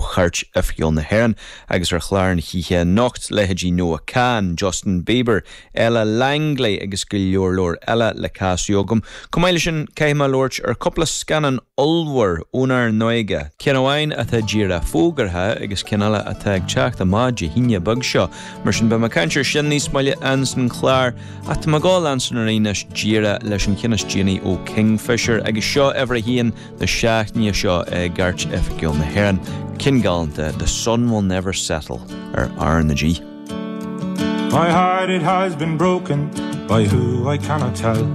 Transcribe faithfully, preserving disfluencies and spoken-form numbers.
Chairt Oifigiúil na hÉireann agus ar chlár na hoíche anocht leithéidí Noah Kahan, Justin Bieber, Ella Langley agus go leor leor eile le casadh agam. Chomh maith leis sin caithfidh mé labhairt ar cúpla scannán ollmhór ónár n-óige. Ceann amháin atá díreach fógartha agus ceann eile atá ag teacht amach Dé hAoine beag seo, mar sin beidh mé ag caint air sin níos moille an chlár ach tá mé ag gabháil leanstan anois díreach leis an cheann is déanaí ó Kingfisher agus seo uimhir a haon na seachtaine seo i gCairt Oifigiúil na hÉireann. Ceann galánta The Sun Will Never Settle ar R na G. My heart it has been broken by who I cannot tell.